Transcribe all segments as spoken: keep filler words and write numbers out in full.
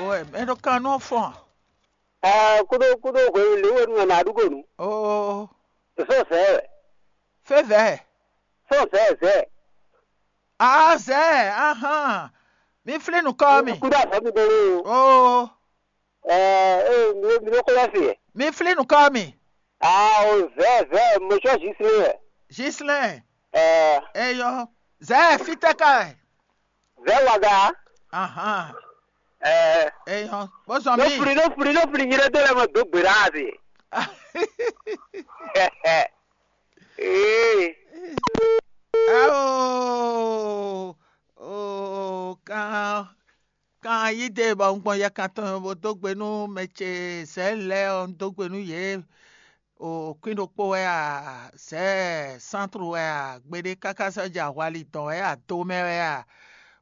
Owó ɛ, mɛ ɖo kan nú fɔn. Aa, kúɖó kúɖó hwenu lě wɛ nú ɛ nǎ ɖu gonu. Oo, Fɛ́ zɛ̌ wɛ. Fɛ́ zɛ̌. Fɛ́ zɛ̌ zɛ̌. Aa zɛ̌, ahán. Mi flín nǔkɔ mi. Kúɖó azɔ̌ mi ɖó lé o. Oo, Ɛɛ, ee, mi mi ɖó xó lɛ́ se. Mi flín nǔkɔ mi. Aa, o zɛ̌ zɛ̌, mo sɔ́ Zislɛ́n wɛ. Zislɛ́n. Ɛɛ, Eyɔ. Zɛ̌ fítɛ́ ka wɛ. Zɛ̌ waga. Ahán. Ɛɛ, Eyɔ. Bó zɔn nɔ mi. Fli nɔ fli nɔ fli nyina dó lɛ mɔ dó gbe ɖa ase. Ee. Ao. Oo, kan kan yí dé bɔ un gbɔn yɛkan tɔn bó dó gbe nú mɛ ce Zɛ̌ lɛ́ɛ ɔ́, un dó gbe nú yě. O kwín ɖokpó wɛ a, Zɛ̌ sántru wɛ a, gbeɖé káká sɔ́ jɛ ahwali dɔn wɛ a, do mɛ wɛ a,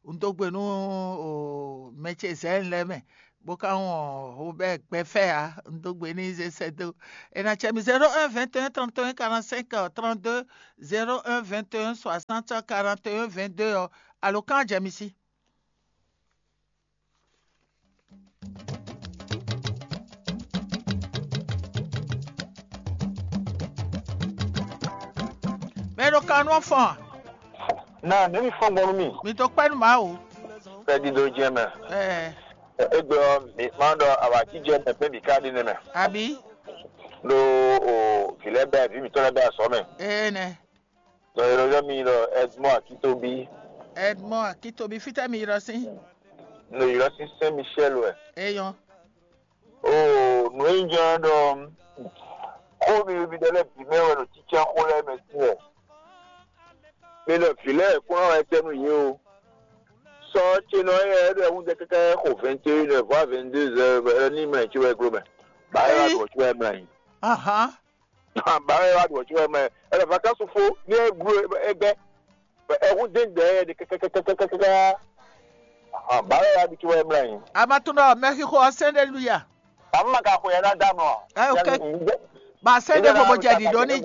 un dó gbe nú o mɛ ce Zɛ̌ lɛ́ɛ mɛ, bó ka wɔn o bɛ́ gbɛfɛ́ ǎ, un dó gbe n'i zé sɛ́ dó. È nǎ cɛ mì zéro un vingt et un trente et un quarante-cinq trente-deux, zéro un vingt et un soixante quarante et un vingt-deux ɔ́, alo kán jɛ mi sí. Mɛ ɖo kan nú fɔn a? Na nɛ̌ mi fɔ́n gbɔn nú mì? Mi dó kpɛ́ nú Mawu. Fɛ́dí ɖó jɛ́n mɛ. Ɛɛ, Égbé ɔ́, mǐ ma ɖɔ awǎjijɛ mɛ pɛ́n bǐ ká ɖe nɛ́ mɛ. Abǐ? Ɖó o vǐ lɛ́ɛ bɛ́ vǐ mǐtɔn lɛ́ɛ bɛ́ azɔ̌ mɛ. Ee nɛ. Ɖɔ è nɔ ylɔ́ mì ɖɔ Edmond Akitobi. Edmond Akitobi, fítɛ́ mi ylɔ́ sín? Nɔ ylɔ́ sín Saint Michel wɛ. Eyɔn. Oo, nǔ e nyí jɛ́n ɖɔ xó mi mi ɖɔ lɛ́ɛ bǐ mɛ wɛ ɖo cícá xó lɛ́ɛ mɛ sín wɛ. Mi ɖɔ vǐ lɛ́ɛ kún ná wɛ tɛ́ nú yě o. Sɔ ce nɔ ɔ́, é ɖo ɛhúnjɛ káká xo vingt et une heures voire vingt-deux heures ní mɛ ce wɛ gló mɛ. Bǎ é wá ɖu ɔ̌ ce wɛ mlá nyi. Ahán. Bǎ é wá ɖu ɔ̌ ce wɛ mlá nyi. Ɛlɛ vacances fó ní é gló é gbɛ́. Ɛhún dé gbɛ é ɖe kɛkɛkɛkɛkɛkɛkɛ. Bǎ é wá ɖu ce wɛ mlá nyi. Amatúndɔ mɛxixo ɔ́ sɛn ɖé luya. Bǎ má ka xwe ɛ ná dá nɔ. Ɛ ok. Ba se ɖe vo bo jɛ ɖiɖo ní jí.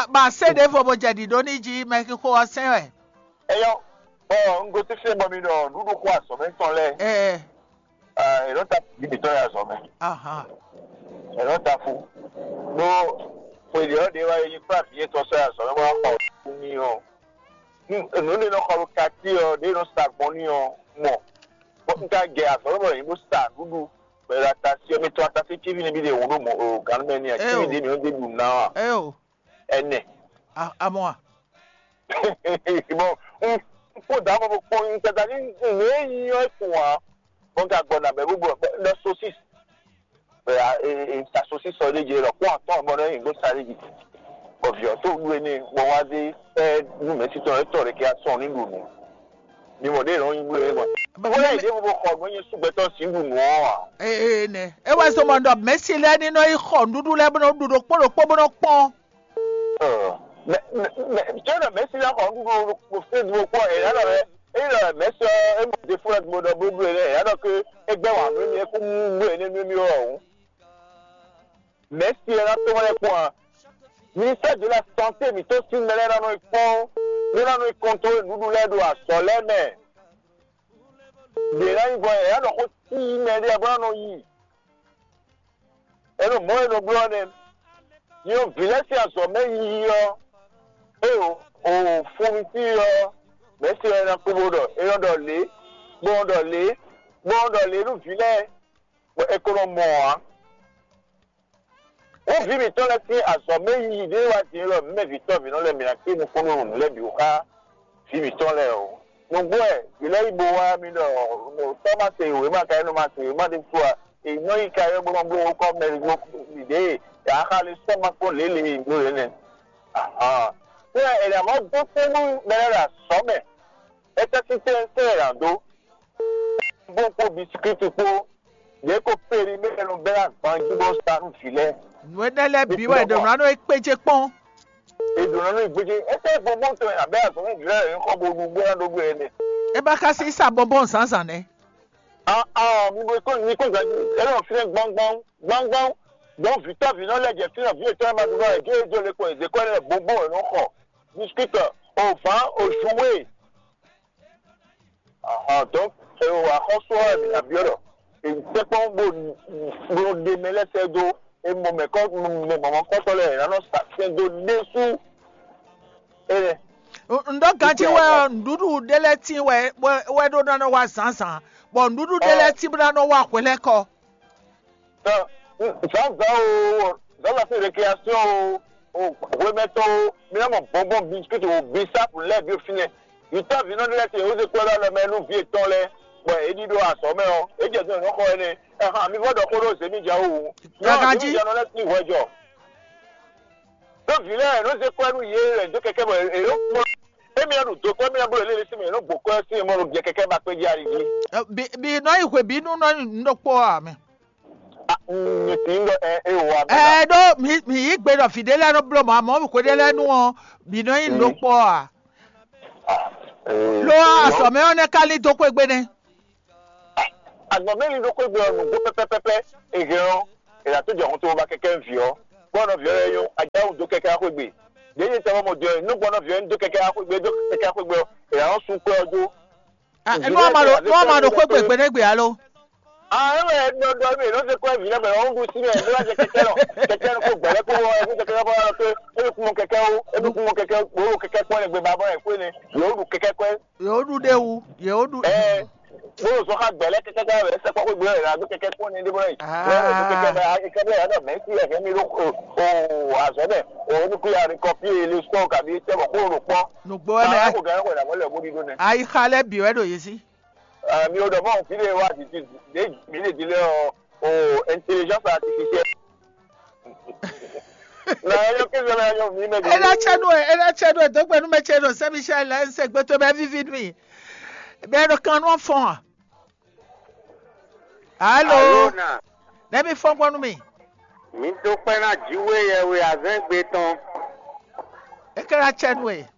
Ba se ɖe vo bo jɛ ɖiɖo ní jí mɛ xixo ɔ́ sɛn wɛ. Eyɔ, bɔ un gosín fí bɔ mi ɖɔ nǔɖuɖu xo azɔ̌ mɛ tɔn lɛ́ɛ. Ɛ, ɛ nɔ ta fí mi tɔn yɛ azɔ̌ mɛ. Ahan. Ɛ nɔ ta fú. Ɖó xwe ɖě ɔ́ ɖě wá yi kplá vǐ yětɔn sɔ́ yɛ azɔ̌ mɛ bó wá xɔ nú mì ɔ́. Nǔ ɖé nɔ xɔ ɖo kati ɔ́ ɖě nɔ sa gbɔn n'i ɔ́ mɔ. Bɔ un ka jɛ azɔ̌ bɔ yě ɖo sa nǔɖuɖu bɔ è ɖo atasi ɔ́, mi tɔn atasi cíví nɛbí ɖe hǔn ɖo mɔ o gǎn mɛ n'i a cíví ɖě mi ɔ́ ɖe ɖu ná a? Eo. Ɛnɛ. Amɔ a? Bɔ un kpó dǎ mɔ bó kpɔ́n un tata ní nǔ e nyí ɔ́ kún ǎ. Bɔ un ka gbɔ nǎ bɛ bó bɔ lɔ sosis. Bɛ a e e sa sosis ɔ́ ɖé jɛ lɔ kpɔ́n atɔ́ bɔ nɔ nyi ɖó sa ɖé jɛ. Bɔ vǐ ɔ́ tó ɖu énɛ́ bɔ wá zé ɛ nú mɛ̌si tɔn étɔn ɖé kɛ asɔn ní ɖu nǔ. Mi mɔ ɖě nɔ nyi bló é mɔ. Wọ́n yà ìdí gbogbo xɔ nú nyɛ súgbẹ́tọ̀ sí ɖu nǔ ɔ́ ǎ. Ee nɛ. E wá zɔmɔ ɖɔ mɛ̌si lɛ́ɛ ní nɔ yi xɔ nǔɖuɖu lɛ́ɛ bó nɔ ɖu ɖokpó ɖokpó bó nɔ kpɔ́n. Ɔ, mɛ mɛ mɛ jɔnɔ mɛ̌si lɛ́ɛ xɔ nǔɖuɖu ɖo Facebook kpɔ́n ɛ yǎ ɖɔ ɛ é ɖɔ mɛ̌si ɔ́ é mɔ ɖěfó lɛ́ɛ gbogbo ɖɔ blóbló ɛ yǎ ɖɔ ké é gbɛ́ wǎn nú émí é kún mú bló ɛ nɛ́ nú émí ɔ́ ǎ hǔn. Mɛ̌si ɔ́ ná tɔ́n lɛ́ kpɔ́n a? Ministère de la santé mǐtɔn sín mɛ lɛ́ɛ ná nɔ yi kpɔ́n bó ná nɔ yi kɔntrolé nǔɖuɖu lɛ́ɛ ɖo azɔ̌ lɛ́ɛ mɛ. Yě ná nyí bɔ yě ná ɖɔ xó sí mɛ ɖé bó ná nɔ yi. É ɖo mɔ̌ e nɔ bló ɔ́ nɛ́. Nyɔ̌ vǐ lɛ́ɛ sín azɔ̌ mɛ yiyi ɔ́, é ɖo o funvítí ɔ́, mɛ̌si ɔ́ é ná kú bó ɖɔ é nɔ ɖɔ lě, bó nɔ ɖɔ lě, bó nɔ ɖɔ lě nú vǐ lɛ́ɛ, bɔ è ko nɔ mɔ ǎ. Wǒ vǐ mǐtɔn lɛ́ɛ sín azɔ̌ mɛ yiyi ɖé wá din élɔ́ mǐ mɛ vǐ tɔ́ vǐ nɔ lɛ́ɛ mǐ ná kpé nukúnnú nǔ lɛ́ɛ bǐ xá vǐ mǐtɔn lɛ́ɛ o. Nǔgbó wɛ vǐ lɛ́ɛ yi bo wá mì ɖɔ tɔ́ ma se wěma ka é nɔ ma se wěma ɖé fú a? È nɔ yi ka é bó nɔ bló kɔ́ mɛ ɖě yě ǎ xa lě sɔ́ ma kpɔ́n lě lě e è bló lě nɛ́. Ahan. Fí wɛ è nǎ mɔ dó kpé nú mɛ lɛ́ɛ ɖo azɔ̌ mɛ. É tɛ́ sín tɛ́ tɛ́ è nǎ dó. Bó kpó bisikíti kpó. Yě ko périmɛ́ nɔ bɛ́ agban jí bó sa nú vǐ lɛ́ɛ. Nǔ énɛ́ lɛ́ɛ bǐ wɛ è ɖǒ ná nɔ é kpéjé kpɔ́n. È ɖǒ ná nɔ é gbéjé. Étɛ́ gbɔngbɔn tɔn abɛ́ azɔ̌ nú vǐ lɛ́ɛ yě xɔ bo ɖu bó ná ɖó gbé énɛ́. É ba ka sí sa bɔnbɔn zǎnzǎn nɛ́. Ah ah, mi bo kó mi kó gǎnjí. É nɔ fínɛ́ gbɔngbɔn gbɔngbɔn. Gbɔn vǐtɔ́ vǐ nɔ lɛ́ jɛ fínɛ́ vǐ yětɔn e ma ɖu nɔ ɛ gé é jó le kɔ è zě kɔ ɛ lɛ́ɛ bɔnbɔn è nɔ xɔ. Bisikíti, o vǎn, o joué. Donc, axɔ́sú ɔ́ wɛ mǐ ná byɔ́ ɖɔ è tɛ́nkpɔ́n bó bó ɖe mɛ lɛ́ɛ sɛ́ dó, è mɔ mɛ̌kɔ mɛ mɔ̌mɔ́kɔ́tɔ́ lɛ́ɛ è nǎ nɔ sa sɛn dó ɖésú. Énɛ́. Un ɖɔ ganjí wɛ ɔ́, nǔɖuɖu ɖé lɛ́ɛ tín wɛ wɛ ɖó ná nɔ wá zǎnzǎn, bɔ nǔɖuɖu ɖé lɛ́ɛ tín bó ná nɔ wá hwelɛ́kɔ. Zǎnzǎn o, zǎnzǎn sín récréation o, o hwemɛtɔn o, mi ná mɔ bɔnbɔn biscuit o, bisap lɛ́ɛ bǐ o fínɛ́. Yǐtɔ́ vǐnɔ ɖé lɛ́ɛ te yě wǒ zé kpɔ́ ɖó alɔ mɛ nú vǐ yětɔn lɛ́ɛ, bɔ é ɖíɖó azɔ̌ mɛ ɔ́, é jɛ zɔn è nɔ xɔ énɛ́. Ɛhan, mi vɔ́ ɖɔ xó ɖó zěmija wú. Zěmija nɔ lɛ́ sín hwɛ jɔ. Ɖó vǐ lɛ́ɛ nɔ zé kɔ́ nú yě lɛ̌ dó kɛkɛ́ bɔ è nɔ kpɔ́n. Émí ɔ́ ɖo do kɔ́, émí ɔ́ bló yě lɛ́ lɛ́ sín mɛ, è nɔ gbǒ kɔ́ sín mɔ ɖo jɛ kɛkɛ́ ba kpé jí ali jí. Bi nɔ yi hwe bǐ nú nɔ nyi nǔ ɖokpó ɔ́ ǎ mɛ. Mi tín ɖɔ ɛ é wɔ abɛ. Ɛ ɖó mi mi yí gbe ɖɔ vǐ ɖé lɛ́ɛ nɔ bló mɔ̌, amɔ̌ hwe ɖé lɛ́ɛ nú ɔ́, bǐ nɔ nyi nǔ ɖokpó ɔ́ ǎ. Lo azɔ̌ mɛ ɔ́ nɛ́ ka lín dó xwé gbe nɛ́. Agbɔ̌n mɛ lín dó xwé gbe ɔ́, nǔgbó pɛ́pɛ́pɛ́pɛ́ è hɛn ɔ́, è nǎ tó jɛ hun to ba kɛkɛ́ vǐ ɔ́, bɔ nɔ vǐ ɔ́ lɛ́ɛ nyɔ́, a jǎ wǔ dó kɛkɛ́ wá xwé gbe. Ɖěe nyí tɛwọ́ mɔ din ɔ́, nú gbɔn nɔ vǐ ɔ́ nyí dó kɛkɛ́ wá xwé gbe, dó kɛkɛ́ wá xwé gbe ɔ́, è nǎ nɔ sú kpɛ́ ɔ́ dó. Nú a ma ɖo nú a ma ɖo xwé gbe gběɖégbè alo? Ah, é wɛ nɔ ɖɔ mì, nɔ se kɔ vǐ lɛ́ɛ mɛ, ɔ́ ɖu sí mɛ, bó wá jɛ kɛkɛ́ lɔ, kɛkɛ́ lɔ kó gbɛ̌lɛ́ kó wɔ, é kó kɛkɛ́ lɔ kó wá lɔ pé, é ɖo kún mɔ kɛkɛ́ ó, é ɖo kún mɔ kɛkɛ́, bó ɖo kɛkɛ́ kpɔ́n lɛ gbé ba bɔ ɛ kó énɛ́, yě ó ɖu kɛkɛ́ kɔ́. Yě ó ɖu ɖé wu, yě ó ɖu. Ɛ bó ɖo zɔn xá gbɛ̌lɛ́ kɛkɛ́ kɔ́ wɛ sɛkpɔ́ xwé gbé wɛ, ɖo kɛkɛ́ kpɔ́n ní ɖé bɔ yìí. Lɔ ɖo kɛkɛ́ bɛ, kɛkɛ́ bɛ, ɛdɔ mɛ sí ɛkɛ mi ɖo o azɔ̌ mɛ, o ní kú ya rí kɔ pí e le sɔ kabi tɛ bɔ kó ɖo kpɔ́n. Nǔgbó wɛ mɛ. Ko gɛ́ ko ɖa mɔ lɛ bó ɖi ɖó nɛ. Ayixa lɛ́ɛ bǐ wɛ ɖo yě sí. Mi ò ɖɔ mɔ fí ɖé wá di ti ɖé mi lè di lé ɔ o intelligence artificielle. Na yɔ kí sọ na yɔ mi mɛ di. Ena tsɛ nu ena tsɛ nu dɔgbe nu mɛ tsɛ nu sɛ michel la ɛsɛ gbɛtɔ bɛ vivi mi bɛ ɖo kan nu fɔn a. Alo. Alo na. Ne mi fɔn gbɔ nu mi. Mi do kpɛ na jiwe yɛ we azɛn gbe tɔn. Eke na tsɛ nu e.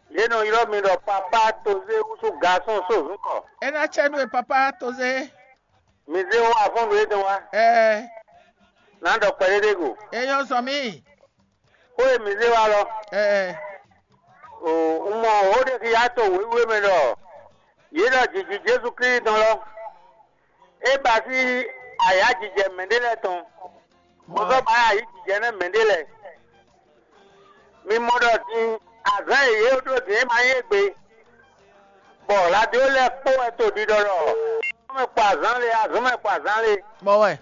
Ye nɔ ylɔ mi ɖɔ papa toze wusu garçon so zun kɔ. Ena tsɛ nu e papa toze. Mi zé wá afɔ́n nǔ e dɔn wá. Ɛɛ. Nǎ ɖɔ kpɛɖéɖé go. Eyɔ́ zɔn mì. Xó e mi zé wá lɔ. Ɛɛ. O un mɔ ó ɖe xi yá to wěwé mɛ ɖɔ yě ɖɔ jǐjí Jezu Klísu tɔn lɔ. É ba sí ayǎjijɛ mɛɖé lɛ́ɛ tɔn. Bó zɔ́ ba ayǐjijɛ nɛ́ mɛɖé lɛ́ɛ. Mi mɔ ɖɔ din azǎn e yě ɖó din é ma nyí égbé, bɔ radio lɛ́ɛ kpó wɛ to ɖiɖɔ ɖɔ azɔn mɛ kpɔ azǎn lé, azɔn mɛ kpɔ azǎn lé. Mɔ wɛ.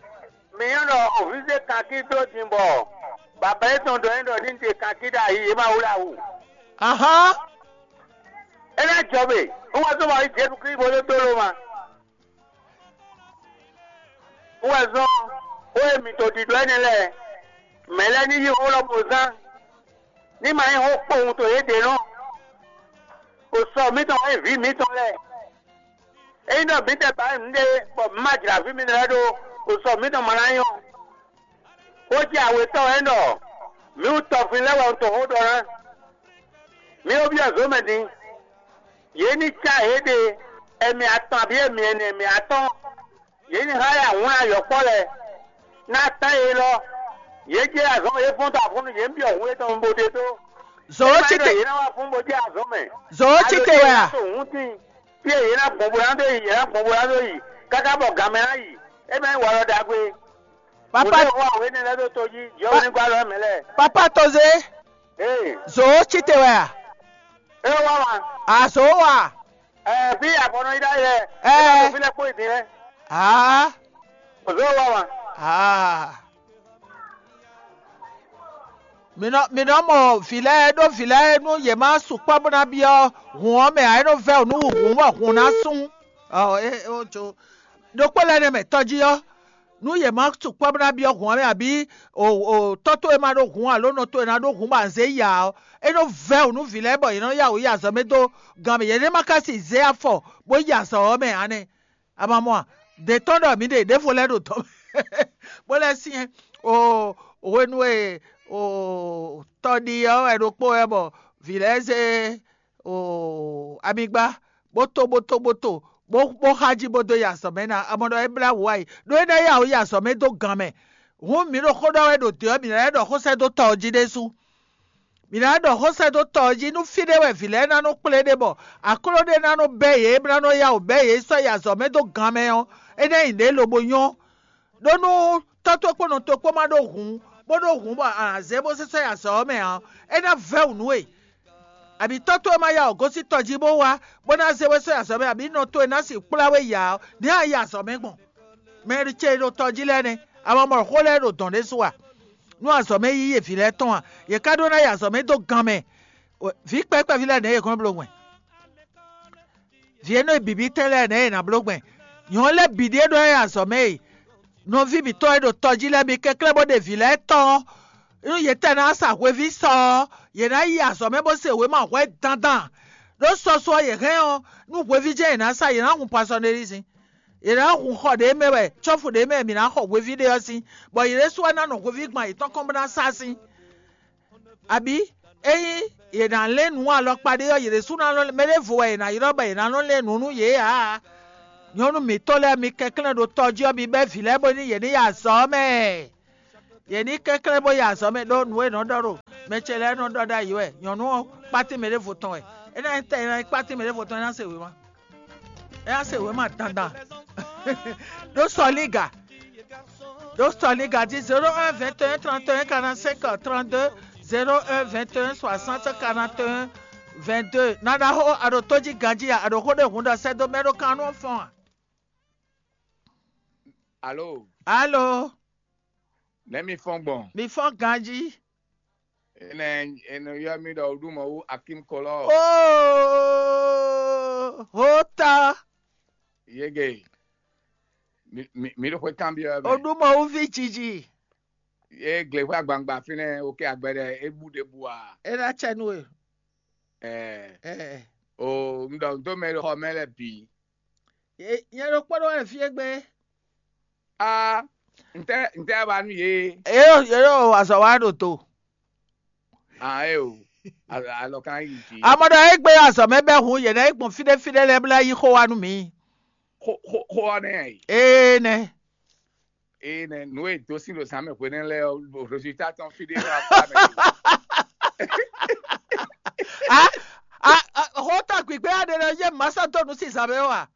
Mi nyɔ́ ɖɔ òvízé kankí dó din bɔ baba yětɔn ɖɔ é ɖɔ ní ɖe kankí ɖo ayi yě ma wlá wǔ. Ahán. É ná jɔ mɛ, un wá zɔ́n wá yí Jezu Klísu bó dó dó ló ma. Wɛ zɔn xó e mǐ to ɖiɖɔ énɛ́ lɛ́ɛ, mɛ̌ lɛ́ɛ ní yí xó lɔ bó zán, ní ma nyí xó kpowun to yě ɖě nɔ. Xo sɔ mǐtɔn wɛ nyí vǐ mǐtɔn lɛ́ɛ. Ényí ɖɔ mǐtɛn ba nyí nǔɖé bɔ mǐ ma jlǎ vǐ mitɔn lɛ́ɛ ɖó, xo sɔ mǐtɔn ma ná nyɔ́. Xó jɛ awětɔn wɛ ɖɔ mǐ wú tɔfin lɛ́ɛ wɛ un to xó ɖɔ ná. Mǐ ó byɔ́ zǒ mɛ din. Yě ní cá yěɖée, ɛmɛ atɔn abǐ ɛmɛ ɛnɛ, ɛmɛ atɔ́ɔ́n. Yě ní há yá wlán yɔ̌kpɔ́ lɛ́ɛ, ná tán yě lɔ. Yě jɛ azɔn yě fɔ́n dó afɔ́nnu yě ní byɔ́ hun yětɔn bó ɖe dó. Zǒ cí te. Yě ná wá fún bó jɛ azɔn mɛ. Zǒ cí te wɛ a? Hun tín, fí e yě ná gbɔn bó ná dó yi, yě ná gbɔn bó ná dó yi, káká bɔ gǎn mɛ ná yi. É mɛ nyí walɔ ɖagbe. Papa. Mɔ̌ wá wě nɛ́ lɛ́ dó tó jí, jɔwú ní gbá lɔ mɛ lɛ́ɛ. Papa Tozé. Ee. Zǒ cí te wɛ a? É wá wá. A zǒ wá. Ɛɛ, fí afɔnɔ yi ɖ'ayǐ lɛ. Ɛɛ. Fí lɛ kpó yi din lɛ. Aa. Zǒ wá wá. Aa. Mǐ nɔ mǐ nɔ mɔ vǐ lɛ́ɛ ɖó vǐ lɛ́ɛ nú yě má sukpɔ́ bó ná byɔ́ hǔn ɔ́ mɛ ǎ, é nɔ vɛ́ wǔ nú hǔn bɔ hǔn ná sún. Ɔ é ó jó. Ɖokpó lɛ́ɛ nɛ́ mɛ tɔjí ɔ́, nú yě má sukpɔ́ bó ná byɔ́ hǔn ɔ́ mɛ abǐ o o tɔ́ towe ma ɖó hǔn alo nɔ towe ná ɖó hǔn bɔ a zě yi ǎ ɔ́, é nɔ vɛ́ wǔ nú vǐ lɛ́ɛ bɔ yě nɔ yá wǔ yi azɔ̌ mɛ dó gan mɛ. Yě ní ma ka si zé afɔ bó yi azɔ̌ ɔ́ mɛ ǎ nɛ́. A ma mɔ a? Dě tɔn ɖɔ mǐ ɖe ɖěvo lɛ́ɛ ɖo dɔ̌ mɛ bó lɛ́ syɛ́n o hwenu e o tɔ ɖi ɔ́ wɛ ɖokpó wɛ bɔ vǐ lɛ́ɛ zé o amigba bó to bó to bó to bó bó xá jí bó dó yi azɔ̌ mɛ ná. A mɔ ɖɔ é blá wǔ wá yi ɖó é ná yá wǔ yi azɔ̌ mɛ dó gan mɛ. Hǔn mǐ ɖo xó ɖɔ wɛ ɖo dě ɔ́, mǐ ná lɛ́ ɖɔ xó sɛ́ dó tɔ ɔ́ jí ɖésú. Mǐ ná ɖɔ xó sɛ́ dó tɔ ɔ́ jí nú fí ɖé wɛ vǐ lɛ́ɛ ná nɔ kplé ɖe bɔ akló ɖé ná nɔ bɛ́ yě, bó ná nɔ yá wǔ bɛ́ yě sɔ́ yi azɔ̌ mɛ dó gan mɛ ɔ́, é ná nyí nǔɖé lobo nyɔ́. Ɖó nú tɔ́ towe kpó nɔ towe kpó ma ɖó hǔn, bó ɖó hǔn bɔ a nǎ zé bó sésɔ́ yi azɔ̌ ɔ́ mɛ ǎ, é ná vɛ́ wǔ nú we. Abǐ tɔ́ towe ma yá wǔ gosín tɔ jí bó wá, bó ná zé we sɔ́ yi azɔ̌ mɛ, abǐ nɔ towe ná sixú kplá we yi ǎ ɔ́, nɛ̌ a yi azɔ̌ mɛ gbɔn? Mɛ ce ɖo tɔ jí lɛ́ɛ nɛ́, a ma mɔ xó lɛ́ɛ ɖo dɔ̌n ɖésú a? Nú azɔ̌ mɛ yíyí e vǐ lɛ́ɛ tɔn a? Yě ká ɖó ná yi azɔ̌ mɛ dó gan mɛ. Vǐ kpɛ́kpɛ́ví lɛ́ɛ nɛ̌ yě kɔn bló gbɛn? Vǐ énɛ́ e bǐbí tɛn lɛ́ɛ nɛ̌ yě ná bló gbɛn? Nyɔ̌nu lɛ́ɛ bǐ ɖíe ɖó ná yi azɔ̌ mɛ e. Nɔví mǐtɔn e ɖo tɔ jí lɛ́ɛ, mi kɛnklɛ́n bó ɖe vǐ lɛ́ɛ tɔn ɔ́, nú yě tɛ ná sa hweví sɔ ɔ́, yě ná yi azɔ̌ mɛ bó se wěma hwɛ́ dandan. Ɖó sɔsɔ ɔ́, yě hɛn ɔ́, nú hweví jɛ́n yě ná sa, yě ná hun pasɔnelízin. Yě ná hun xɔ ɖě mɛ wɛ, cɔ́fu ɖě mɛ mǐ ná xɔ hweví ɖé ɔ́ sín, bɔ yě ɖésú wɛ ná nɔ hweví gban yětɔn kɔn bó ná sá sín. Abǐ ényí yě ná lɛ́n nǔ alɔkpa ɖé ɔ́, yě ɖésú ná nɔ, mɛ ɖěvo wɛ yě ná ylɔ́ bɔ yě ná nɔ lɛ́n nǔ nú yě ǎ. Nyɔ̌nu mǐtɔn lɛ́ɛ, mi kɛnklɛ́n ɖo tɔ jí ɔ́, mi bɛ́ vǐ lɛ́ɛ bónú yě ní yi azɔ̌ ɔ́ mɛ. Yě ní kɛnklɛ́n bó yi azɔ̌ mɛ ɖó nǔ e nɔ ɖɔ ɖo mɛ ce lɛ́ɛ nɔ ɖɔ ɖ'ayǐ wɛ. Nyɔ̌nu ɔ́, kpátín mɛ ɖěvo tɔn wɛ. É ná nyí tɛ é ná nyí kpátín mɛ ɖěvo tɔn, é ná se wěma. É ná se wěma dandan. Ɖó sɔlíga. Ɖó sɔlíga jí zéro un vingt et un trente et un quarante-cinq trente-deux, zéro un vingt et un soixante quarante et un vingt-deux. Nana xó a ɖo tó jí ganjí a, a ɖo xó ɖé hun ɖɔ sɛ́ dó mɛ ɖó kan nú fɔ́n a? Alo, Alo, nɛ̌ mi fɔ́n gbɔn? Mi fɔ́n ganjí. Enɛ enɛ yɔ mi ɖɔ ɖu mɔ wú Akim Kɔlɔ. Oh, hota. Yege. Mi mi mi ɖo xwe kan biɔ O mɛ. ɖu mɔ wú vi jiji. Ye gle xwe agbangba fínɛ oke agbɛɖɛ ebu ɖe bu a. E na tsɛ nu e. Ɛɛ Eh. o n ɖɔ n dó mɛ ɖo xɔ mɛ lɛ bǐ. Ye- Nyɛ ɖo kpɔ́ ɖo wɛ fie gbe. A n tɛ n tɛ wa nu ye. Ye ɖo ye ɖo azɔ wa ɖo to. A e o. A- Alɔ kan yi dzi. Amɔ ɖɔ egbe azɔ mɛ bɛ hun ye na yi gbɔn fi ɖe fi ɖe lɛ bla yi xó wa nu mi. Xo xo xo ɔ nɛ yi. Ee nɛ. Eye nɛ nu e dó sín ɖo zǎn mɛ hwenɛ́ lɛ́ɛ ɔ́, ɖo résultat tɔn fí ɖé wá fá mɛ. A a a xɔta gbigbe aɖe lɛ ye masa dɔnu si zan mɛ wa.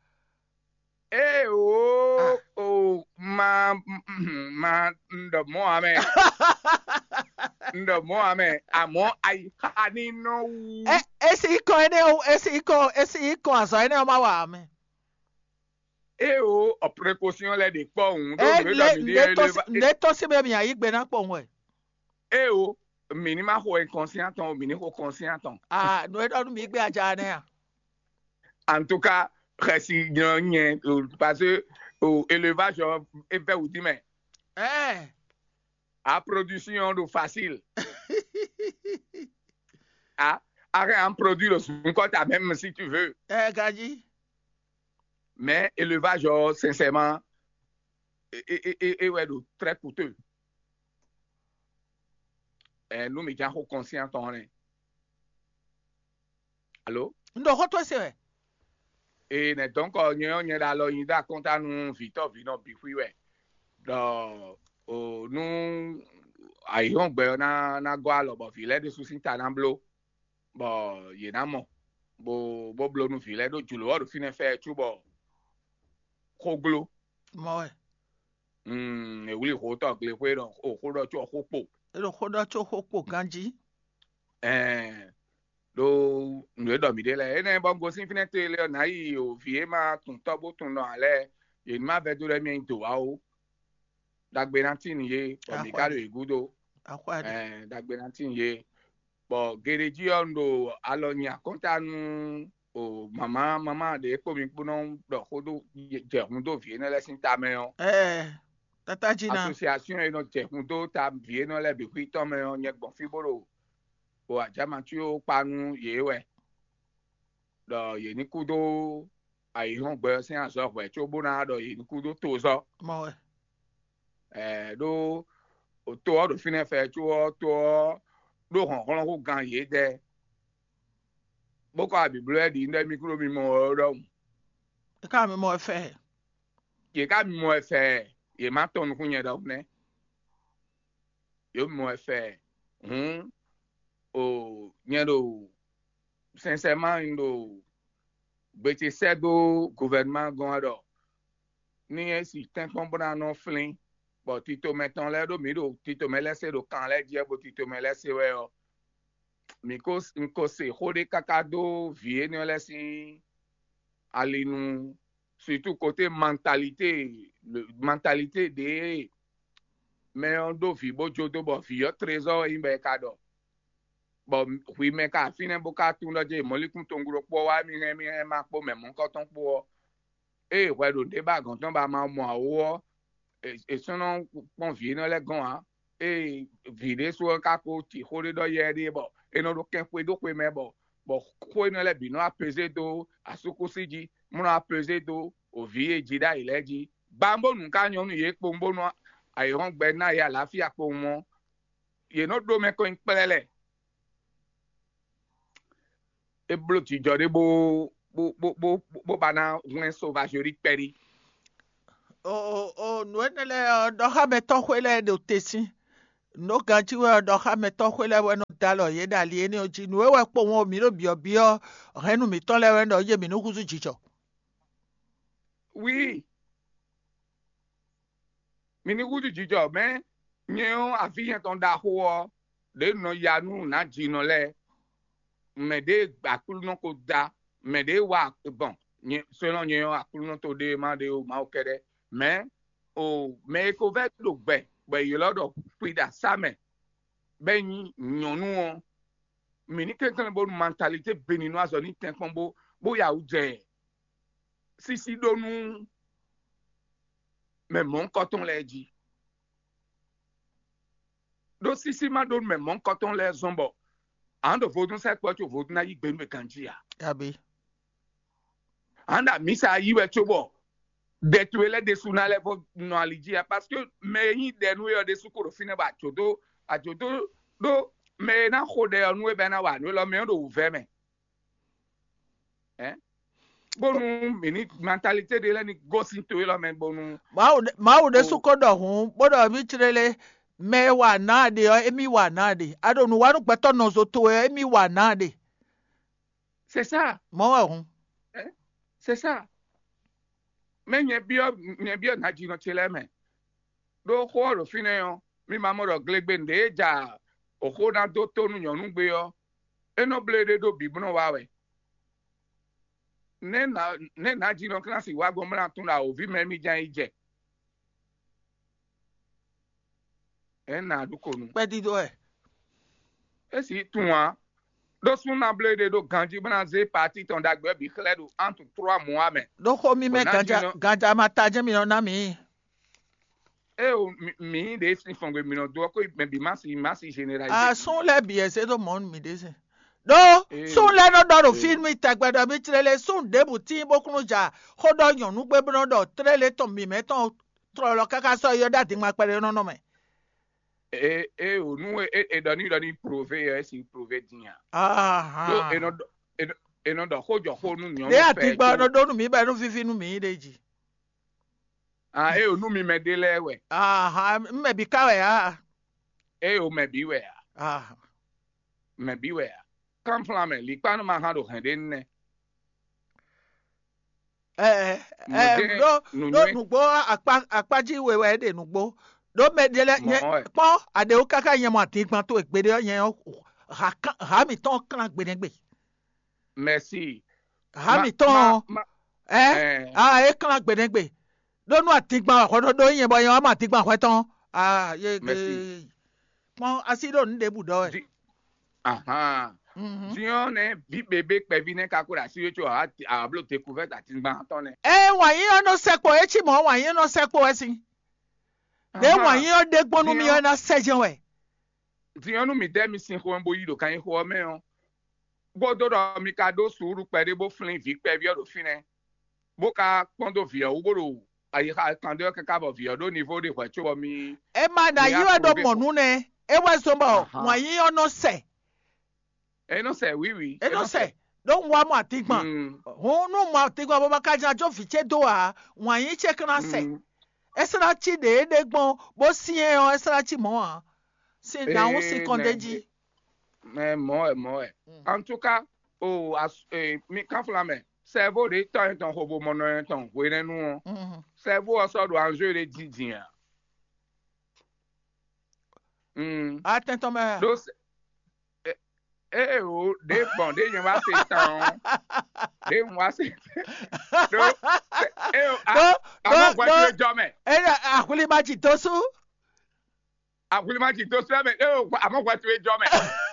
Ee o o ma ma n ɖɔ mɔ amɛ n ɖɔ mɔ amɛ àmọ́ àyíká ní nɔ wú. E esi ikɔ ene o esi ikɔ esi ikɔ azɔ ene o ma wa amɛ. Ee o ɔ précaution lɛ ɖe kpɔ òun ɖó E nǔ e le ɖɔ mi ne ɖe to éleva si ne to si bɛ mi ayi gbe na kpɔ ŋwɛ. Ee o mi ní ma xo inconscient tɔn o mi ní xo conscient tɔn. Ah, no e ɖɔ nu mi gbe aja ne a. En tout cas, xɛsi nyɔ nyɛ o, parce que o élevage ɔ e vɛ wudi mɛ. Ɛɛ A production ɖo facile. A arrête un produit le sunkɔta même si tu veux. Ɛɛ gaji. Mais élevage ɔ sincèrement e e e e wɛ ɖo très coûteux. Ɛ nu mi jan xo conscient tɔn ne. Alo. N ɖo xɔ to se wɛ. Ee nɛ donc nyɛ ɔ́ nyɛ ɖo alɔ nyi ɖo akɔnta nú vǐtɔ́ vǐnɔ bǐ xwí wɛ. Ɖɔ o nú ayǐhɔ́ngbe ɔ́ ná ná gɔ́ alɔ bɔ vǐ lɛ́ɛ ɖésú sín ta ná bló, bɔ yě ná mɔ bó bó bló nú vǐ lɛ́ɛ ɖó jlǒ ɔ́ ɖo fínɛ́ fɛ cóbɔ xó gló. Mɔ wɛ. Mm, è wlí xó tɔn glexwé ɖɔ o xó ɖɔ có xó kpo. E ɖo xɔ ɖɔ tso xɔ kpo ganji. Ɛɛ ɖo nǔ e ɖɔ mǐ ɖe lɛ́ɛ énɛ́ bɔ gosín fínɛ́ te lé ɔ́ nǎ yi o vǐ e ma tun tɔ́ bó tun nɔ ǎ lɛ́ɛ yě ní ma vɛ́ dó ɖɔ émí nyí dǒ wá ó. Ɖagbe ná tín yé bɔ mǐ ka ɖo yě gúdo. Axɔ ɖe. Ɛɛ ɖagbe ná tín yé. Bɔ geɖejí ɔ́ un ɖo alɔ nyi akɔ́nta nú o mama mama ɖě kpó mi kpó nɔ ɖɔ xó dó jɛ hun dó vǐ énɛ́ lɛ́ɛ sín ta mɛ ɔ́. Ɛɛ tata dzi na. Association e nɔ jɛ hun dó ta vǐ énɛ́ lɛ́ɛ bǐ xwí tɔn mɛ ɔ́ nyɛ gbɔn fí bó ɖo o ajamatíwo kpa nú yě wɛ ɖɔ yě ní kú dó ayǐhɔ́ngbe ɔ́ sín azɔ̌ hwɛ̌ cóbó ná ɖɔ yě ní kú dó tozɔ́. Mɔ wɛ. Ɛɛ ɖó to ɔ́ ɖo fínɛ́ fɛ có ɔ́ to ɔ́ ɖó hlɔ̌nhlɔ́n hú gan yědɛɛ bó kɔ abǐbló wɛ ɖi ɖɔ émí kúɖó mi mɔ ɔ́ ɖɔhun. E ka mi mɔ fɛ. Yě ká mi mɔ ɛ fɛ yě má tɔn nukún nyɛ ɖɔhun nɛ́. Yě mi mɔ ɛ fɛ hǔn O nyɛ ɖo sincèrement un ɖo gbe ce sɛ́ dó gouvernement gɔ́n wɛ ɖɔ ní é si tɛ́nkpɔ́n bó ná nɔ flín, bɔ titomɛ tɔn lɛ́ɛ ɖó mǐ ɖo titomɛ lɛ́ɛ se ɖo kan lɛ́ɛ jí wɛ, bo titomɛ lɛ́ɛ se wɛ ɔ́, mǐ ko un ko se xó ɖé káká dó vǐ énɛ́ lɛ́ɛ sín ali nu, surtout côté mentalité, mentalité ɖě mɛ ɔ́ ɖó vǐ bó jó dó bɔ vǐ ɔ́ trezɔ́ wɛ nyí bɔ è ka ɖɔ, bɔ hwi mɛ ka fínɛ́ bó ka tunwun ɖɔ jɛ mɔ̌likún tɔnglo kpó ɔ́ wá mì hɛn mì hɛn ma kpó mɛ mɔ̌hunkɔtɔn kpó ɔ́, ée hwɛ ɖo nǔɖé ba gɔ̌n tɔn ba ma mɔ ǎ ó ɔ́, è sɔ́ nɔ kpɔ́n vǐ énɛ́ lɛ́ɛ gɔ́n ǎ. Ée vǐ ɖésú ɔ́ ka ko ci xó ɖé ɖɔ yɛ ɖé bɔ è nɔ ɖo kɛn xwedó xwe mɛ bɔ bɔ xó énɛ́ lɛ́ɛ bǐ nɔ apezé dó asúkúsi jí, mɔ nɔ apezé dó òvǐ e jí ɖ'ayǐ lɛ́ɛ jí. Gbambónu ka nyɔ́ nú yě kpowun bónú ayǐhɔ́ngbe ná yě alǎfíà kpowun ɔ́, yě nɔ ɖó mɛ kɔn nyi kplɛ́lɛ́. É bló jijɔ ɖé bó bó bó bó bó ba ná hwlɛ́n sovazeli kpɛɖí. O o o nǔ énɛ́ lɛ́ɛ ɔ́, ɖɔxámɛtɔ́xwé lɛ́ɛ ɖo te sín. Nǔ ganjí wɛ ɔ́, ɖɔxámɛtɔ́xwé lɛ́ɛ wɛ nɔ dó alɔ yě ɖo ali énɛ́ ɔ́ jí. Nǔ e wɛ kpowun ɔ́, mǐ ɖo byɔ̌byɔ́ hɛ̌nnu mǐtɔn lɛ́ɛ wɛ ɖɔ yé mǐ nú húzú jijɔ. Wi mi ní húzú jijɔ mɛ nyɛ ɔ́ aví nyɛ tɔn ɖaxó ɔ́ ɖě nɔ ya nú nǎjínɔ lɛ́ɛ, mɛ ɖě Aklúnɔ ko da, mɛ ɖě wa gbɔn selɔ́ nyɛ ɔ́ Aklúnɔ to ɖé ma ɖé o Mawu kɛ́ɖɛ́. Mɛ o mɛ e ko vɛ́ ɖo gbɛ bɔ è ylɔ́ ɖɔ Xwiɖa sá mɛ bɔ é nyí nyɔ̌nu ɔ́, mǐ ní kɛnklɛ́n bónú mentalité Beninu azɔ ní tɛ́nkpɔ́n bó bó ya wǔ jɛ sísí ɖó nú mɛ mɔ̌hunkɔtɔn lɛ́ɛ jí. Ɖó sísí ma ɖó nú mɛ mɔ̌hunkɔtɔn lɛ́ɛ zɔ́n bɔ a nǎ ɖo vodún sɛkpɔ́ có vodún ná yí gbe nú mɛ ganjí ǎ. Abǐ a nǎ ɖo amǐsa yí wɛ cóbɔ ɖɛ towe lɛ́ɛ ɖésú ná lɛ́ vɔ nɔ ali jí ǎ, parce que mɛ e nyí ɖɛ nú we ɔ́ ɖésú ko ɖo fínɛ́ bɔ ajǒ dó ajǒ dó ɖó mɛ e ná xo ɖɛ ɔ́ nú we bɔ é ná wa nǔ élɔ́ mɛ ɔ́ ɖo wǔvɛ́ mɛ. Hɛ̌n? Bónú mǐ ní mentalité ɖé lɛ́ɛ ní gosín to élɔ́ mɛ bónú Mawu ɖé- Mawu ɖésú ko ɖɔ hǔn bó ɖɔ mí clélé mɛ e wa nǎ a ɖe ɔ́, émí wa nǎ a ɖe. A ɖo nǔ wa nú gbɛtɔ́ nɔzo towe ɔ́, émí wa nǎ a ɖe. C'est ça, Mɔ̌ wɛ hǔn. C'est ça. Mɛ nyɛ byɔ́ nyɛ byɔ́ nǎjínɔ ce lɛ́ɛ mɛ. Ɖó xó ɔ́ ɖo fínɛ́ ɔ́, mi ma mɔ ɖɔ glegbenu ɖě e ja oxó ná dó tó nú nyɔ̌nu gbé ɔ́, é nɔ bló éɖée ɖó bǐ bó nɔ wa wɛ. Nɛ̌ nǎ nɛ̌ nǎjínɔ Klásí wá gbɔn bó ná tunwun ɖɔ awǒvi mɛ émí ján yi jɛ? Ě nǎ ɖu ko nu. Kpɛdídó wɛ. É sì tunwun ǎ. Ɖó súnnu ná bló éɖée ɖó ganjí bó ná zé paatí tɔn ɖagbe ɔ́ bǐ xlɛ́ ɖo entre trois mois mɛ. Ɖó xó mímɛ́ Bɔ ná ganjá jí nɔ- ganjá ma ta jɛ́n mi nɔ ná mǐ. Ée o mi- mǐ ɖě sín fɔngbe mǐ nɔ dó ɔ́, kó mɛ bǐ má si má si généralisé. Asún lɛ́ɛ bǐ ɛ zé ɖó mɔ̌ nú mǐ ɖésɛ. Ɖó Ee. Súnnu lɛ́ɛ nɔ ɖɔ ɖo Ee. Fí nú mi tɛgbɛ ɖɔ mí tlé lé súnnu ɖěbǔ tíin bó kún nɔ ja xó ɖɔ nyɔ̌nu gbé bó nɔ ɖɔ tlé lé tɔn mǐmɛ́ tɔn tlɔlɔ káká sɔ́ yɔ ɖó adingban kpɛɖé nɔ nɔ mɛ. E e o nu e e ɖɔ ni ɖɔ ni prove ɔ esi prove din a. Ɖó e nɔ ɖɔ e nɔ e nɔ ɖɔ xó jɔ xó nu nyɔnu Ɖé fɛ adigba ɔ nɔ ɖó nú mǐ bɔ é nɔ víví nú mǐ ɖe jí. Ah e o nu mi mɛ ɖe lɛ wɛ. Aha, mɛ bi ka wɛ a. E o mɛ bi wɛ a. Aha. Mɛ bi wɛ a. Kanflan mɛ likpa nɔ ma hã ɖo hɛn ɖe nɛ. Ɛɛ ɛɛ ɖó ɖó nǔgbó akpá akpájí we wɛ é ɖe nǔgbó ɖó mɛ ɖé lɛ nyɛ kpɔ́n aɖewo káká nyɛ mɔ adingban towe gbeɖé ɔ́ nyɛ ɔ́ ha mǐtɔn klán gbeɖégbé. Merci. Ha mǐtɔn ɛ a é klán gbeɖégbé ɖó nú adingban wɛ hwɛ ɖó ɖó nyɛ bɔ nyɛ wá mɔ adingban hwɛ tɔn a yé kpɔ́n asi ɖo nǔ ɖěbǔ ɖɔ wɛ. Ahan. Din ɔ́ nɛ́ vǐ bebé kpɛví nɛ́ ka ko ɖo así wé có a bló découverte atingban tɔn nɛ́. Ée wǎn yí ɔ́ nɔ sɛkpɔ é cí mɔ̌ wǎn yí ɔ́ nɔ sɛkpɔ wɛ sín. Ɖě wǎn yí ɔ́ ɖe gbɔn nú mì ɔ́ ná sɛ jɛ́n wɛ. Din ɔ́ nú mǐ dɛ́ mi sin xomɛ bó yí ɖo kannyixo ɔ́ mɛ ɔ́, bó dó ɖɔ mi ka ɖó suúlu kpɛɖé bó flín vǐ kpɛví ɔ́ ɖo fínɛ́, bó ka kpɔ́n dó vǐ ɔ́ wú bó ɖo ayixa kan ɖé ɔ́ káká bɔ vǐ ɔ́ ɖó nivo ɖé hwɛ̌ có bɔ mi. É ma ɖo ayǐ wɛ ɖo mɔ nú nɛ, é wɛ zɔ́n bɔ wǎn yí ɔ́ nɔ sɛ. É nɔ sɛ wǐwǐ. É nɔ sɛ ɖó un wá mɔ atíngban. Hǔn nú mɔ atíngban bó ma ka jlá jó vǐ ce dó ǎ, wǎn yí ce ka ná sɛ. É sɔ́ ná cí ɖě é ɖe gbɔn bó syɛ́n ɔ́, é sɔ́ ná cí mɔ̌ ǎ. Sin nǎ hún sin kɔn d'é jí. Ɛ mɔ̌ wɛ, mɔ̌ wɛ. En tout cas, o as- e, mi kánfla mɛ, sɛvo ɖě tɔn yɛn tɔn xovomɔnɔ yɛn tɔn hwenɛ́nu ɔ́, sɛvo ɔ́ sɔ́ ɖo anjou ɖé jinjin a? Mm. Atɛn tɔn mɛ. Ɖó sɛ- e- ée o ɖě gbɔn ɖě nyɛ wá se tán ɔ́, ɖě un wá se ɖó ée o Ɖó- amɔ ɖó- hwɛtu ɖó- e jɔ mɛ. Eya ahwlima ji dó sú. Ahwlima ji dó sú mɛ ée o amɔ hwɛtu e jɔ mɛ.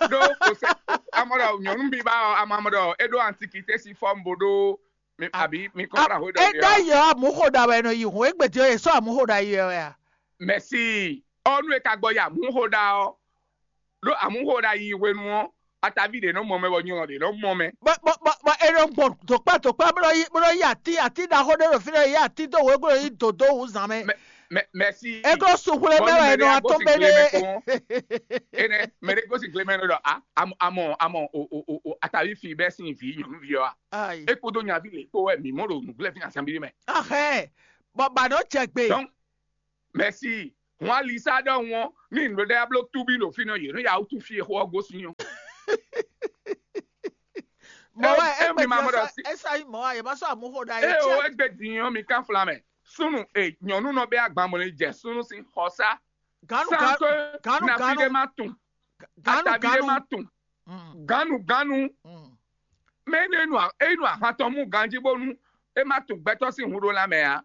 Ɖó kò sɛ amɔ ɖɔ nyɔnu bí ba ɔ amɔ amɔ ɖɔ é ɖó antikité si fɔm bo ɖó mi abi mi kɔn ra hwe ɖɔ Eda yɔ amuxo ɖa wɛ nɔ yi hun egbe di yɛ sɔ amuxo ɖa yi wɛ a. Mɛsi ɔnu e ka gbɔ yi amuxo ɖa ɔ ɖó amuxo ɖa yi hwenu ɔ atavi ɖe nɔ mɔ mɛ bɔ nyɔlɔ ɖe nɔ mɔ mɛ. Bɔ bɔ bɔ bɔ e nɔ gbɔn dokpa dokpa bó nɔ yi bó nɔ yi ati ati ɖaxó ɖé ɖo fi nɔ yi ati dó wě bó nɔ yi dòdó wǔ zan mɛ. Mɛ mɛsi. E ko suxwlé mɛ wɛ nɔ atɔn bɛ ɖé. Enɛ mɛ ɖe gosi gle mɛ nɔ ɖɔ a amɔ amɔ amɔ o o o o atavi fi bɛ sin vi nyɔnuvi ɔ a. Ayi. E kpodo nyavi le kpo wɛ mi mɔ ɖo nuglɛ fi na sanbi mɛ. Ahɛ. Bɔ ba nɔ jɛ gbe. Donc mɛsi. Wọn alisa ɖɔhun ɔ ní nǔɖé ɖe abló túbí ɖo fínɔ yě nɔ ya wútu fí exó ɔ́ gosín ɔ́. Mɔ wɛ e- e- mi ma mɔ ɖɔ egbe esa yi mɔ wa yɛ ma sɔ amuxo ɖa eye o yɛ. Egbe din ɔ́ mi kánfla mɛ súnnu e nyɔ̌nu nɔ bɛ agban mɔ ní jɛ súnnu sín xɔsá Ganu sáńtó ganu nafi ɖé ganu má tún ganu atavi ɖé má ganu. tún gánu gánu. Mm. Mɛ énú enu enu ahan tɔn mú ganjí bónú é má tún gbɛtɔ́ sín hun ɖó lanmɛ ǎ.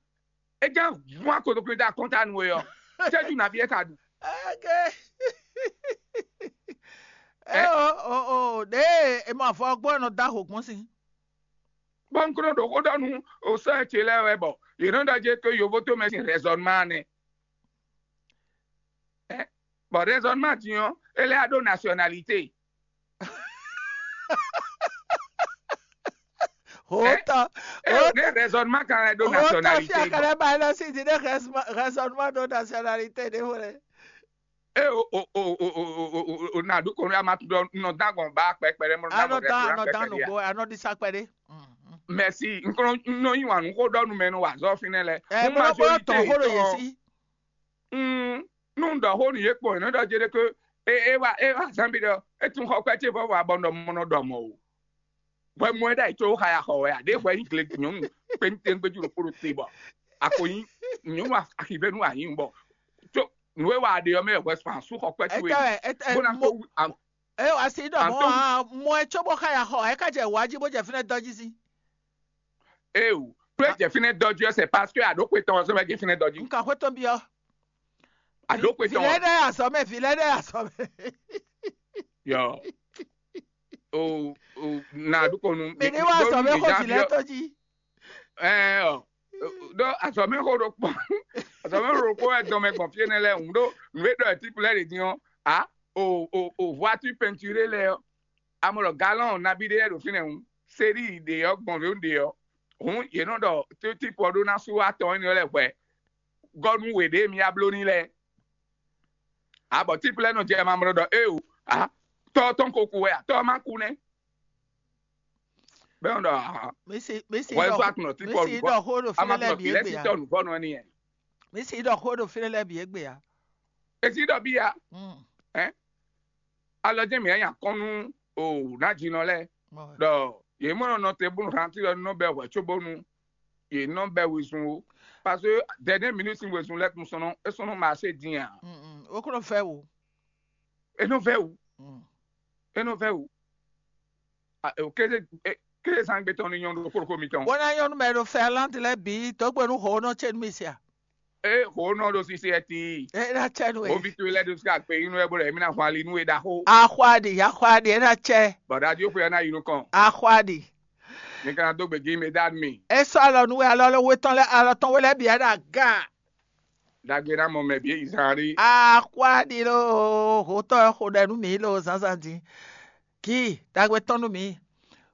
É gán vún akotokwín dó akɔ́ntánu é ɔ́, cɛ́jú nǎví é ka ɖu. Eke. E o o o ɖe e ma fɔ gbɔ nɔ da ho gbɔn si. Bɔ un kúrò ɖo xó ɖɔ nú osɔ́ ce lɛ́ɛ wɛ bɔ yě nɔ ɖɔ jɛ tó yovo tó mɛ sín raisonnement nɛ. Ɛ, bɔ raisonnement din ɔ́, é lɛ́ ɖó nationalité. Hotɔ É ò ní raisonnement kan lɛ́ ɖó hotɔ fi nationalité bɔ. akɛlɛ ba yɛ lɔ si di ne raisonnement ɖo nationalité ɖe vo lɛ. E o o o o o o o o na ɖu kɔnɔ ama tún ɖɔ nɔ dán gbɔn ba kpɛkpɛ ɖe mɔ dán gbɔn Anɔdan kpɛkpɛ anɔdan ɖe ya. Nugbo anɔdisa kpɛ ɖe. Mɛsi, n kɔnɔ nɔ yí wǎn nú xó ɖɔ nú mɛ nú wà zɔ fínɛ́ lɛ. Ɛ bolo bolo tɔn xó ɖo yě si. Mm, nú un ɖɔ xó nú yě kpɔn yě nɔ ɖɔ jɛ ɖe ke e e wa e wa zan bi ɖɔ e tún xɔ kpɛ ce vɔ wa bɔ nɔ mɔ nɔ ɖɔ mɔ o. Hwɛ mɔ ɛ ɖa yi tso xa ya xɔ wɛ a ɖe hwɛ yi gle nyɔnu kpe ní tɛn gbɛjú ɖo kpó ɖo te bɔ ako yi nyɔnu axivɛ nú anyi bɔ tso nú e wa ɖe ɔmɛ hwɛ span sú xɔ kpɛ Ɛ towe tɛ ɛ ɛ bó ná mo tó wu am- ɛ asi ɖɔ mɔ Anto- a mɔ ɛ tso bɔ xa ya xɔ ɛ ka jɛ wá jí bó jɛ fínɛ́ dɔ jí sí. e o kple jɛ fínɛ́ dɔjú ɛ c'est parce que aɖókpe tɔn sɔ bɛ jɛ fínɛ́ dɔjú Nka xwé tó biɔ. aɖókpe tɔn Filɛ ɖe asɔ mɛ filɛ ɖe asɔ mɛ. Yɔ o o na ɖukɔnu Mi ní wá asɔ mɛ xɔ filɛ tó jí. Ɛɛ ɔ ɖɔ azɔmɛ xo ɖo kpɔ azɔmɛ xo ɖo kpɔ wɛ dɔmɛ gbɔn fie nɛ lɛ ŋu ɖo nǔ e ɖɔ ɛ tipu lɛ ɖe din ɔ a o o o voiture peinture lɛ ɔ amɔ ɖɔ galɔn nabi ɖe yɛ ɖo fínɛ ŋu série ɖe ɔ gbɔn ɖo ɖe ɔ hǔn yě nɔ ɖɔ tipu ɔ ɖó ná sú atɔn énɛ́ lɛ hwɛ gɔnu we ɖe mi ya bló ní lɛ a bɔ tipu lɛ nɔ jɛ mamlɔ ɖɔ e o a tɔ tɔn ko ku wɛ a tɔ ma ku nɛ bɛ ɔn ɖɔ a Mi si mi si wɔ ɖɔ ɛfɔ akunɔ tipu mi si ɔ ɖɔ xó ɖo ama fínɛ́ lɛ kunɔ bǐ filɛ égbé si ya. tɔ nuvɔ nɔ ni yɛ Mi si ɖɔ xó ɖo fínɛ́ lɛ bǐ égbé ya. esi ɖɔ bi ya Mm. alɔ jɛ mi anya kɔnu o na dzi nɔ lɛ Mɔ- ɖɔ yě mɔ nɔ te bónú hantí ɖɔ nɔ bɛ hwɛ tso bónú yě nɔ bɛ wezun o parce que dernière minute sin wezun lɛ tun sɔnɔ e sɔnɔ marché din a Mm, mm. O kúrò fẹ́ wo. e nɔ vɛ wu Mm. e nɔ vɛ wu a o kéde e kéde zangbe tɔn ni nyɔnu ɖo kókó mi tɔn Wọ́n ná nyɔnu mɛ ɖo Finlande lɛ bǐ dɔgbe nú hɔn nɔ tse nú mi sia. e xo nɔ ɖo sisi ɛ ti E na tse nu o e. vi to lɛ ɖo sika gbe inú ɛ bó lɛ mi na hɔn ali nú e ɖaxó Axɔaɖi axɔaɖi e na tse. bɔdá di ó pe ɛ na yi nukɔn Axɔaɖi. mi kana dó gbèjì mi dá mi E sɔ alɔ nu e alɔ lɛ wetɔn lɛ alɔ tɔn we lɛ bia ɖe aga. dagbe na mɔ mɛ bi yi zan ri Axɔaɖi lo hotɔ xo ɖe nu mi lo zanzan di. Ki dagbe tɔn nu mi.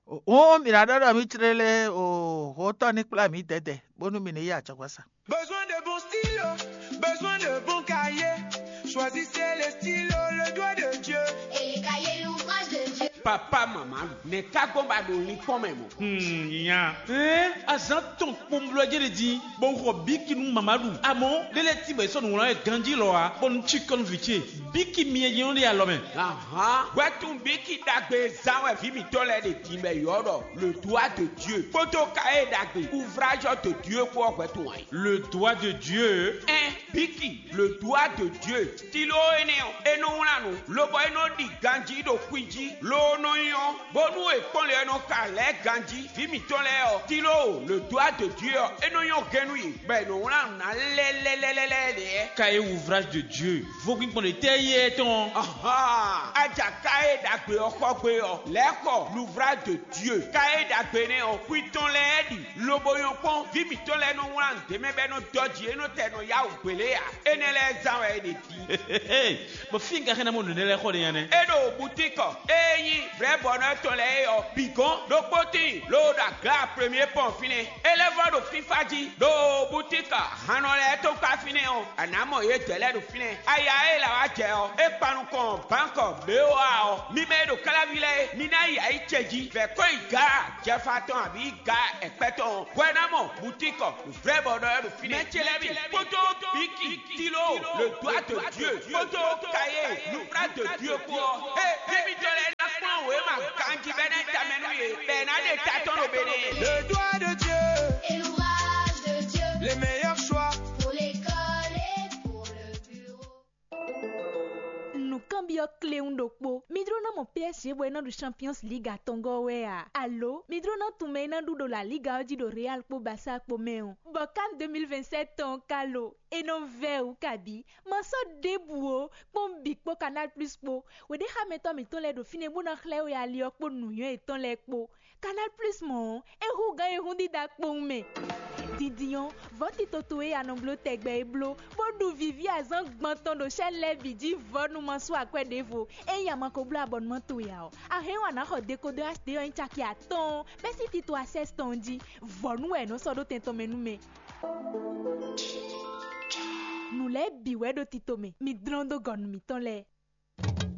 Hun mi na ɖɔ ɖɔ mi tsre le o hotɔ ni kpla mi dɛdɛ bónú mi ni yi atsɔgbasa. Besoin de bons stylos, besoin de bons cahiers. Choisissez les stylos, le doigt de Dieu. Et les cahiers, l'ouvrage de Dieu. Papa mama lu, nɛ̌ ka gbɔn ba ɖo linkpɔ́n mɛ mɔ̌? Hmm, nya. Ɛn azán tɔn kpomblɔ jɛ ɖe din, bɔ un xɔ bíki nú mama ɖu. Amɔ̌, lélɛ tí bɔ è sɔ́ nǔ wlán wɛ ganjí lɔ ǎ, bɔ un cí kɔn nú vǐ ce. Bíki myɛ jɛ́n ɖe alɔ mɛ. Ahan, hwɛtun bíki ɖagbe zán wɛ vǐ mǐtɔn lɛ́ɛ ɖe din bɔ è ylɔ́ ɖɔ le doigt de Dieu. Kpódó ka e ɖagbe ouvrage de Dieu kpó ɔ́ hwɛtun wɛ. Le doigt de Dieu. Ɛn bíki le doigt de Dieu. Tilo énɛ́ ɔ́, é nɔ wlán nǔ, lobɔ é nɔ ɖi ganjí ɖo xwi jí, loo nɔ nyɔ́, bónú è kpɔ́n lě ɔ́ nɔ xa lɛ̌ ganjí. Vǐ mǐtɔn lɛ́ɛ ɔ́, Tilo, le doigt de Dieu ɔ́, é nɔ nyɔ́ gɛ́n nú yě, bɔ è nɔ wlán nǔ ná lɛ́lɛ́lɛ́lɛ́ ɖě. Ka e ouvrage de Dieu, vodún kpɔn ɖe tɛ́ yí ɛ tɔn. Ahan, aja ka e ɖagbe ɔ́ xɔ gbe ɔ́, lɛ̌ xɔ l'ouvrage de Dieu. Ka e ɖagbe nɛ́ ɔ́, xwi tɔn lɛ́ɛ ɖi, lobo nyɔ́ kpɔ́n, vǐ mǐtɔn lɛ́ɛ nɔ wlán nǔ ɖ'é mɛ bɔ é nɔ dɔ́ jǐ, é nɔ tɛ nɔ yá wǔ gbě lé ǎ. Énɛ́ lɛ́ɛ zán wɛ è ɖe din. Bɔ fí ka xɛ́ ná mɔ nǔɖé lɛ́ɛ xɔ ɖe nya nɛ́? É ɖo butíkɔ, é nyí vrɛ̌bɔnɔ tɔn lɛ́ɛ é ɔ́, bǐ gɔ́n ɖokpó tíin, loo ɖo aglǎ premier pɔn fínɛ́. É lɛ́ vɔ́ ɖo fífá jí, ɖo butíkɔ hannɔ lɛ́ɛ tɔn kpá fínɛ́ ɔ́, a nǎ mɔ yě dɛ̌ lɛ́ɛ ɖo fínɛ́. Aya e la wá jɛ ɔ́, é kpan nukɔn bǎnkɔ běwa ɔ́, mi mɛ e ɖo káláví lɛ́ɛ é, mi ná yi ayǐ ce jí, vɛ̌ kɔn yi gǎ jɛfa tɔn abǐ gǎ ɛkpɛ́ tɔn ɔ́, hwɛ ná mɔ butíkɔ vrɛ̌bɔnɔ ɔ́ ɖo fínɛ́. Mɛ ce lɛ́ɛ mi kpódó bíki, Tilo, le doigt de Dieu, kpódó Kayé, l'ouvrage de Dieu kpó ɔ́, é, é mi jɔ lɛ́ ná kplɔ́n wěma ganjí bɛ́ ná tamɛ nú yě, bɛ́ ná ɖe ta tɔn ɖo Benɛ́. Le doigt de Dieu, et l'ouvrage de Dieu, les meilleurs choix pour l'école et pour le bureau. Nǔkanbyɔ́ kléwún ɖokpó. Mi jló ná mɔ P S G bɔ é ná ɖu Champions League atɔngɔ́ wɛ a? Alo mi jló ná tunwun mɛ e ná ɖu ɖo La Liga ɔ́ jí ɖo Real kpó Barça kpó mɛ ɔ́? Bɔ CAN deux mille vingt-sept tɔn ɔ́ ka lo? É nɔ vɛ́ wǔ kabǐ. Ma sɔ́ ɖěbǔ ó, kpɔ́n bǐ kpó Canal Plus kpó. Wěɖéxámɛtɔ́ mǐtɔn lɛ́ɛ ɖo fínɛ́ bó ná xlɛ́ we ali ɔ́ kpó nǔnywɛ́ yětɔn lɛ́ɛ kpó. Canal Plus mɔ̌ ɔ́, é hú gǎn e hún dídá kpowun mɛ. Dindin ɔ́, vɔ̌ tito towe e a nɔ bló tɛgbɛ é bló, bó ɖu vǐví azǎn gban tɔn ɖo chaîne lɛ́ɛ bǐ jí vɔ̌nu ma sú akwɛ́ ɖěvo. Ényí a ma ko bló abɔnumán towe ǎ ɔ́, a hɛn wǎn ná xɔ dekodɔ H D ɔ́ nyí caki atɔ́ɔ́n bɛ́ sín tito Access tɔn jí. Vɔ̌nu wɛ è nɔ sɔ́ ɖó tɛn tɔn mɛ nú mɛ. Nǔ lɛ́ɛ bǐ wɛ ɖo tito mɛ, mi dlɔ́n dó gɔnu mǐtɔn lɛ́ɛ.